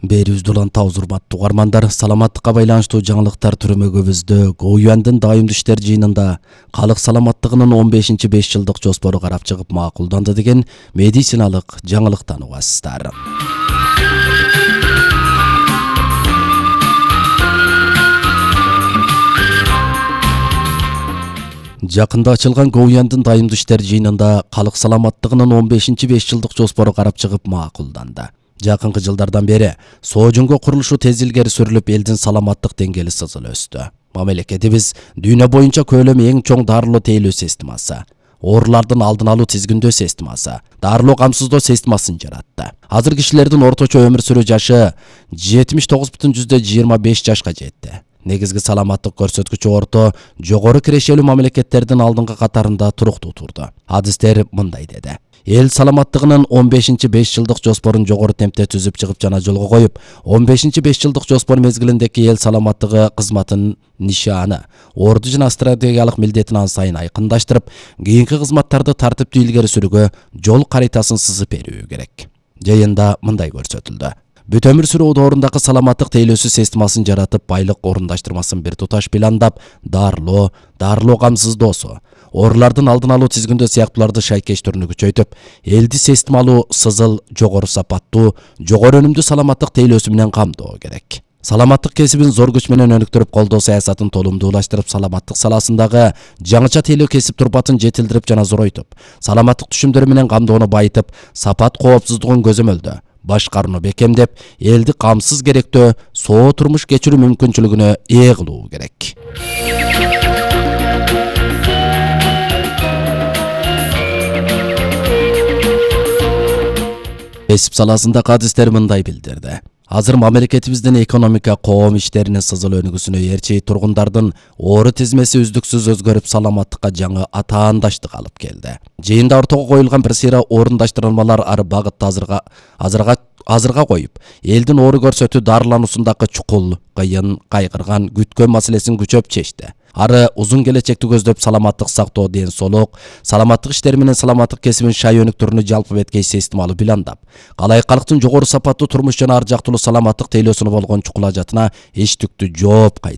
Берүүбүздү уланта урматтуу угармандар, саламаттыкка байланыштуу жаңылыктар түрмөгүбүздө ГУЮндун дайымдуу иштер жыйынында калык саламаттыгынын 15 5 жылдык жоспору карап чыгып макулданды деген медициналык жаңылыктан угасыздар. Жакында ачылган ГУЮндун дайымдуу иштер жыйынында калык саламаттыгынын 15 5 жылдык жоспору карап чыгып макулданды. Жакынкы жылдардан бери соожоңго курулушу тез илгери сүрүлүп, элдин саламаттык деңгээли сызыл өстү. Мамлекетибиз дүйнө боюнча көлөмү эң чоң дарылоо тейлөө системасы, оорулардын алдын алуу тизгиндөө системасы, дарылоо камсыздоо системасын жаратты. Азыр кишилердин орточо өмүр сүрүү жашы 79,25 жашка жетти. Негизги саламаттык көрсөткүчү орто жогору кирешелүү мамлекеттердин алдыңкы катарында туруктуу турду. Адистер мындай деди: эл саламаттыгынын 15 5 жылдык жоспорун жогору темпте түзүп чыгып жана жолго коюп, 15 5 жылдык жоспор мезгилиндеги эл саламаттыгы кызматынын нишаны, орду жана стратегиялык милдетин ан сайын айкындаштырып, кийинки кызматтарды тартиптүү илгери сүрүүгө жол каритасын сызып берүү керек. Жыйында мындай көрсөтүлдү: бүт өмүр сүрүү доорундағы саламаттык тейлөөсү системасын жаратып, байлык орундаштырмасын бир туташ пландап, дарылоо камсыздоосу, оорулардын алдын алуу тизгиндөө сыяктууларды шайкеш түрүнү күчөйтүп, элди системалуу, сызыл, жогору сапаттуу, жогору өнүмдүү саламаттык тейлөөсү менен камдоо керек. Саламаттык кесибин зор күч менен өнүктүрүп, колдоо саясатын толумдуулаштырып, саламаттык саласындагы жаңыча тейлөө кесип турпатын жетилдирип жана зоройтуп, саламаттык түшүмдөрү менен камдоону байытып, сапат коопсуздугун көзөмөлдөө, башкарууну бекемдеп, элди камсыз керектөө соо турмуш кечирүү мүмкүнчүлүгүнө ээ кылуу керек. Кесип саласында адистер мындай билдирди: азыр мамлекетибиздин экономика, коом иштеринин сызыл өнүгүүсүнө ээрчи тургундардын оору тизмеси үздүксүз өзгөрүп, саламаттыкка жаңы атаандаштык алып келди. Жыйында ортого коюлган бир сыйра орундаштырылмалар ары багытта азырга коюп, элдин оору көрсөтүү дарылануусундагы чукул, кыйын, кайгырган, күткөн маселесин күчөп чечти. Ары узун келечекти көздөп, саламаттык сактоо, ден соолук, саламаттык иштери менен саламаттык кесибин шай өнүктүрүүнү жалпы беткей системалуу пландап, калай калктын жогору сапаттуу турмуш жана ар жактуулуу саламаттык тейлөөсүнө болгон чукул ажатына эчтүктүү жооп кайтты.